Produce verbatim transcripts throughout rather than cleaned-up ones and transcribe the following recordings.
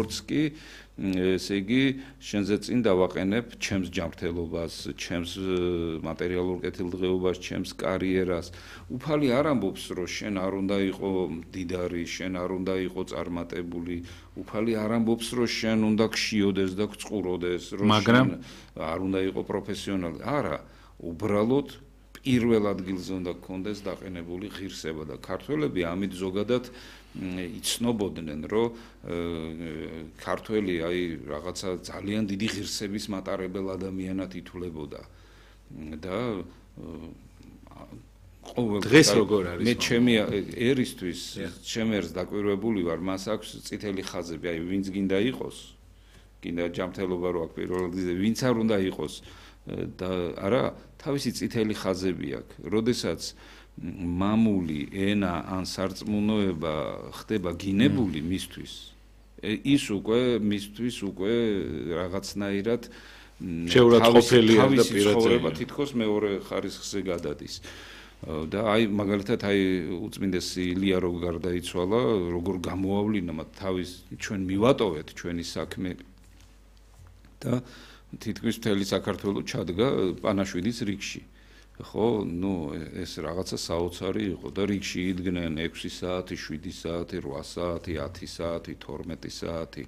როგორც კი ესე იგი შენზე წინ დავაყენებ ჩემს ჯანმრთელობას, ჩემს მატერიალურ კეთილდღეობას, ჩემს კარიერას. უფალი არ ამბობს, რომ შენ არ უნდა იყო მდიდარი, შენ არ უნდა იყო წარმატებული. უფალი არ ამბობს, რომ შენ უნდა გშიოდეს და გწყუროდეს, რომ შენ არ უნდა იყო პროფესიონალი. არა, უბრალოდ პირველ ადგილზე უნდა გქონდეს დაყენებული ღირსება და ქართველები ამით ზოგადად იცნობოდნენ, რომ ქართველი აი რაღაცა ძალიან დიდი ღირსების მატარებელ ადამიანად ითვლებოდა და ყოველ დღეს როგორ არის? მე ჩემი ერისთვის, ჩემ ერს დაკვირვებული ვარ, მას აქვს წითელი ხაზები, აი ვინც გინდა იყოს, გინდა ჯანმრთელობა რო აქვს პირველ ადგილზე, ვინც არ უნდა იყოს და არა, თავისი წითელი ხაზები აქვს. როდესაც მამული ენა ან სარწმუნოება ხდება გინებული მისთვის, ის უკვე მისთვის უკვე რაღაცნაირად შეურაცხყოფელია და პირადად თითქოს მეორე ხარისხზე გადადის. და აი მაგალითად აი უწმინდესი ილია რო გარდაიცვალა, როგორ გამოავლინა მათ თავის ჩვენ მივატოვეთ ჩვენი საქმე და თითქმის მთელი საქართველო ჩადგა პანაშვიდის რიგში. ხო, ნუ ეს რაღაცა საოცარი იყო და რიგში იდგნენ ექვსი საათი, შვიდი საათი, რვა საათი, ათი საათი, თორმეტი საათი.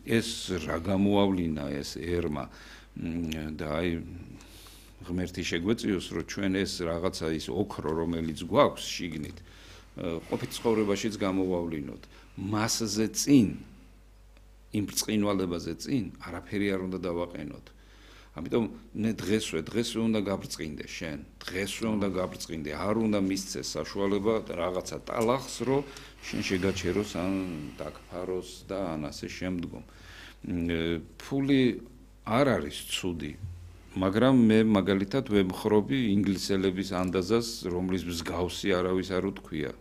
ეს რა გამოავლინა ეს ერმა და აი ღმერთი შეგვეწიოს, რომ ჩვენ ეს რაღაცა ის ოქრო, რომელიც გვაქვს შიგნით, ყოფით ცხოვრებაშიც გამოვავლინოთ. მასზე წინ, იმ ბრწყინვალებაზე წინ, არაფერი არ უნდა დავაყენოთ. ამიტომ ნე დღესვე, დღესვე უნდა გაბრწყინდე შენ, დღესვე უნდა გაბრწყინდე, არ უნდა მისცეს საშუალება რაღაცა ტალახს, რომ შენ შეგაჩეროს ან დაგფაროს და ან ასე შემდგომ. ფული არ არის ცუდი, მაგრამ მე მაგალითად ვემხრობი ინგლისელების ანდაზას, რომლის მსგავსი არავის არ უთქვია.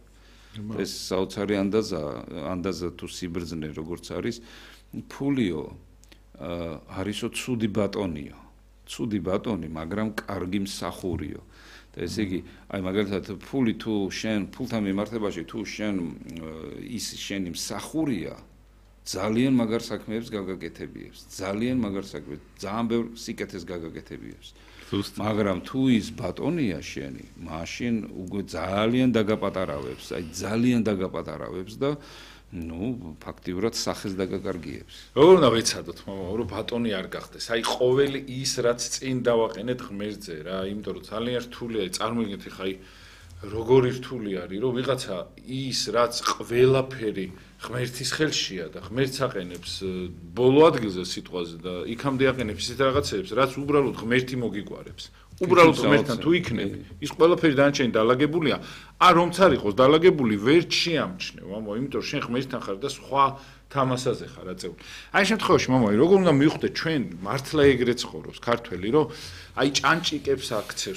ეს საოცარი ანდაზა, ანდაზა თუ სიბრძნე როგორც არის, ფულიო არისო ცუდი ბატონიო. ცუდი ბატონი, მაგრამ კარგი მსახურიო. და ესე იგი, აი მაგალითად ფული თუ შენ ფულთან მიმართებაში თუ შენ ის შენი მსახურია, ძალიან მაგარ საქმეებს გაგაკეთებიებს, ძალიან მაგარ საქმეებს, ძალიან ბევრ სიკეთეს გაგაკეთებიებს. მაგრამ თუ ის ბატონია შენი, მაშინ უკვე ძალიან დაგაპატარავებს, აი ძალიან დაგაპატარავებს და ну, ფაქტიურად სახეს დაგაკარგიებს. როგორ უნდა ვეცადოთ, მამა, რომ ბატონი არ გახდეს. აი, ყოველი ის, რაც წინ დავაყენეთ ღმერთზე რა, იმიტომ რომ ძალიან რთულია, წარმოიდგინეთ, ხა აი როგორი რთული არის, რომ ვიღაცა ის, რაც ყველაფერი ღმერთის ხელშია და ღმერთს აყენებს ბოლო ადგილზე სიტყვაზე და იქამდე აყენებს ისეთ რაღაცებს, რაც უბრალოდ ღმერთი მოგიგვარებს. უბრალოდ ღმერთთან თუ იქნები, ის ყველაფერი დანარჩენი დალაგებულია, არ რომც არ იყოს დალაგებული, ვერ შეამჩნევ, მამა, იმიტომ რომ შენ ღმერთთან ხარ და სხვა თამასაზე ხარ აწეული. აი ამ შემთხვევაში, მამა, როგორ უნდა მივხვდეთ ჩვენ მართლა ეგრე ცხოვრობს ქართველი, რომ აი ჭანჭიკებს აქცევს